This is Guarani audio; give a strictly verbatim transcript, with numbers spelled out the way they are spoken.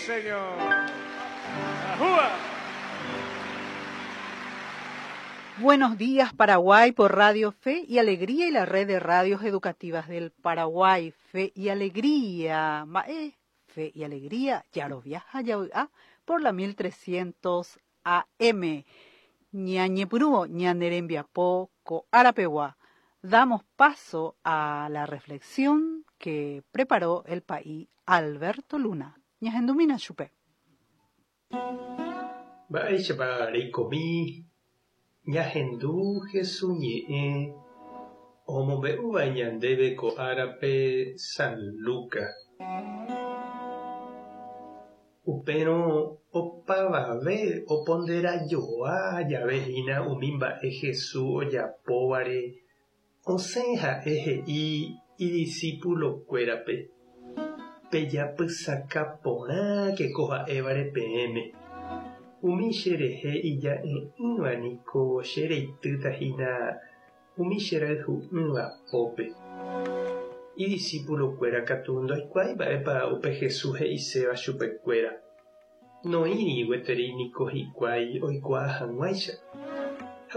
Señor. ¡Ajúa! Buenos días, Paraguay, por Radio Fe y Alegría y la red de radios educativas del Paraguay. Fe y Alegría. Mae, Fe y Alegría, ya viaja ya ah, por la mil trescientos A M. Ñañepyrũvo ñane rembiapo ko árapegua. Damos paso a la reflexión que preparó el pa'i Alberto Luna. Ñahendumína chupe. Mba'éichapa reikomi? Ñahendu Jesús ñe'ẽ omombe'úva ñandéve ko árape San Lucas. Upérõ opavave oponderajoa jave hína umi mba'e Jesús ojapóvare, osẽ ha'e he'i idiscipulokuérape: "Pejapysaka porãke ko ha'évare peẽme. Umi cherehe ija'e'ỹva niko chereitýtahína umi cherayhu'ỹva pópe". Idiscipulokuéra katu ndoikuaái mba'épa upe Jesús he'iséva chupekuéra. Noĩri gueteri niko hikuái oikuaa hag̃uáicha.